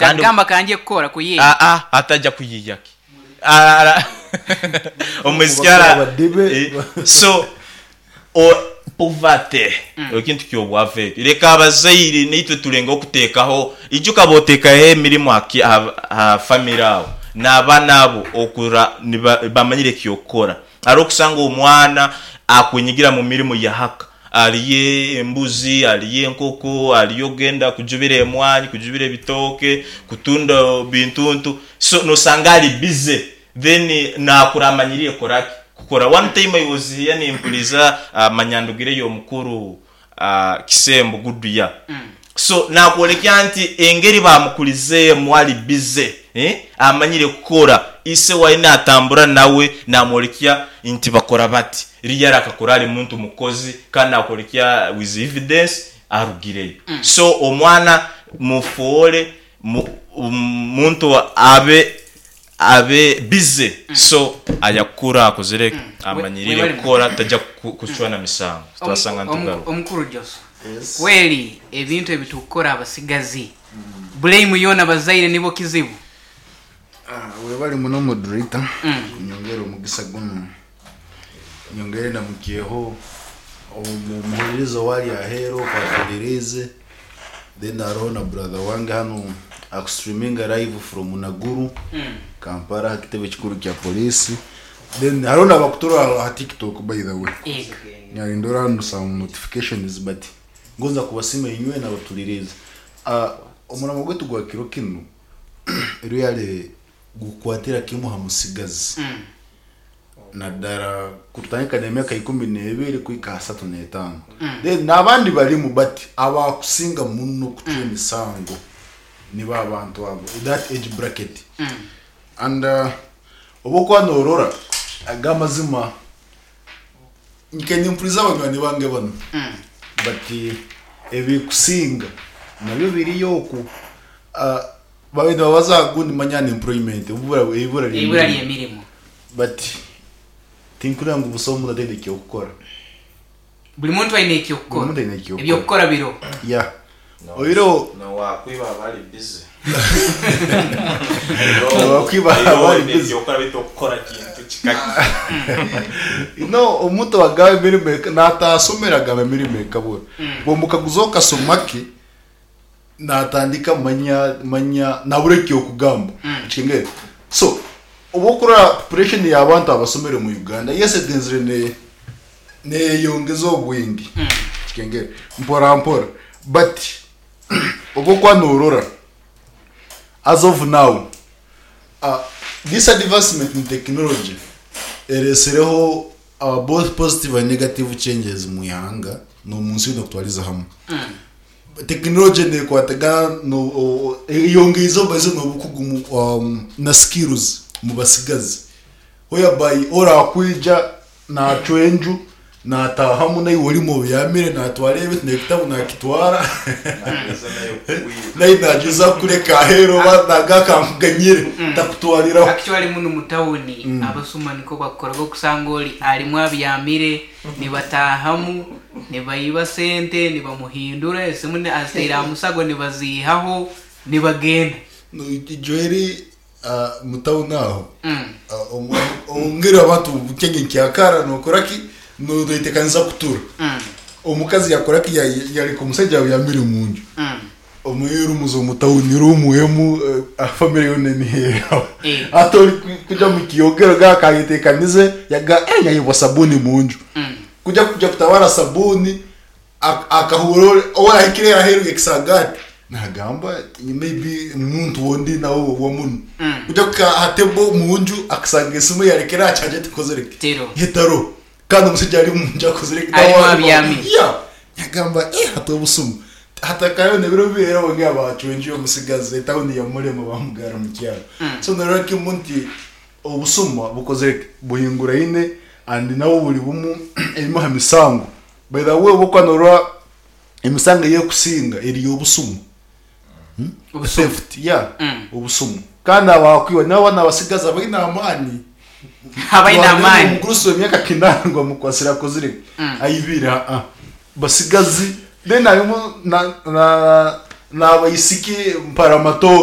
Kandi Takugamba kangye kukora kuyiiya. Aa ataja kuyiiya ki? Ara omwishiki ara Abadibe. So o poverty ekintu ky'obwavu ekyo. Leka abazaire naitwe tulengeho kuteekaho, ijuka bw'oteekaho emirimo aha famire aho, n'abaana abo okura bamanyire eky'okukora. Hariho okusanga omwana akwenyigira mu mirimo ya haka, hariyo embuzi, hariyo enkoko, hariyo okugenda kujubira emwanyi, kujubira ebitooke, kutunda bintuntu, so nosanga ari busy then nakura amanyirire kukora ki? Kukora. One time I was here nimpuriza manya ndugireyo omukuru Kisembo Goodyear, so nakworekya nti engeri bamukurizeemu ari busy amanyire kukora, ise waye natambura nawe namworekya nti bakora bati, really akakura ari muntu mukozi kandi nakworekya with evidence arugireyo. So omwana mufoore muntu abe abe busy so ayakukura akozire ki? Amanyirire kukora taja kucwana misango twasanga nitugaruka. Omukuru Joshua, kweli ebintu ebitukukora abasigazi blame yoona bazaire nibo kizibu? Webale muno moderator kunyongera omugisa gunu nyongere ndamukyeho omuhuririza owari aheru oku atuhuririize then hariho na brother wange hanu aku streaminga live from Naguru Kampala aha kitebe kikuru kya police then hariho nabakuturora aha tiktok by the way nindora hanu some notifications but ngonza kubasiima inywena abatuririize. Omurimo gwaitu gwa kiro kinu really gukukwatira kimwe aha musigazi. Naddara kutandika n'emyaka 12 kuhika aha 35. Then n'abandi barimu but abakusinga muno kucwa emisango nibo abantu abo that age bracket. And obu orikuba norora aga amazima nke nimpuriza banywani bange banu but ebikusinga nabyo biriyo oku. Babaire nibabaza aha gundi manya unemployment, eibura Eibura ry'emirimo. But tinkureba ngu busaho omuntu ataine eky'okukora. Buri muntu aine eky'okukora. Buri muntu aine eky'okukora. Eby'okukora biriho. Yeah. Oihireho. N'owaakwiba aba ari busy. N'owaakwiba aba ari busy. Eby'okukora beitu okukora kintu kikakye. You know omuntu owagamba emirimo naataasomire agamba emirimo ekabura. Bw'omukaguza okasoma ki, Natandika manya manya nabura ekyokugamba okitegeera so obu okurora population yabantu abasomere omu Uganda yes egenzire ne neyeyongeza obwingi okitegeera mpora mpora but obu okuba norora as of now this advancement in technology eresereho both positive and negative changes omwihanga nomunsi yoona kutwariza hamwe. Tekinologye nekwatagana eyongeize obubazi n'obukugu na skills omu batsigazi whereby orakwija nacwa enju natahamu naiwe orimu obyamire natwara ebintu n'ekitabu nakitwara naiwe nagyezaho kukureka aheeru oba naga kankuganyire takutwariraho. Actually munu mu tawuni abasuma nikwo bakukoraga okusanga ori arimu abyamire. Nibataahamu, nibaiba sente, nibamuhindura, esimu azitaire aha musago nibaziihaho, nibagenda. Joeli mu tawuni aho ongera abantu nk'enye nkyakara nokora ki noyetekaniza kutura omukazi yakora ki yareka omusaija abyamire omunju Omu rooms omu town room emu family yoona eniheeraho. Hati ori kuja omu kiyogero ga akayetekanize yaga eh nyayebwa sabuni munju. Kuja kuja kutabara sabuni akahurira ou arahikire aheeru y'ekisagaati nagamba maybe omuntu ou ndi nawe owa munu. Kuja kuhika aha table munju akasanga esimu eyarekire aha charger tekozire ki? Teriho. Etariho. Kandi omusaija ari omunju akozire ki? Arimu abyami. Yeah. Yagamba eh hati obusumu. Hati akaba nebiro bibiri era bongera bacwa enju y'omusigazi etawuni yamurema bamugara omu kyaro. So norora kimu nti obusuma bukozire ki? Buhinguraine and nabwo buri bumu emwe aha misango. By the way obu okuba norora emisango ey'ekusinga eri y'obusuma. Obusumu. Theft, yeah, obusumu. Kandi abakwiba nabo n'abasigazi abaine amaani. Abaine amaani. Omugurusi w'emyaka kinaana ngu amukwasire akozire ki? Aibire aa. Basigazi then harimu na na n'abaisiki mparamatooke.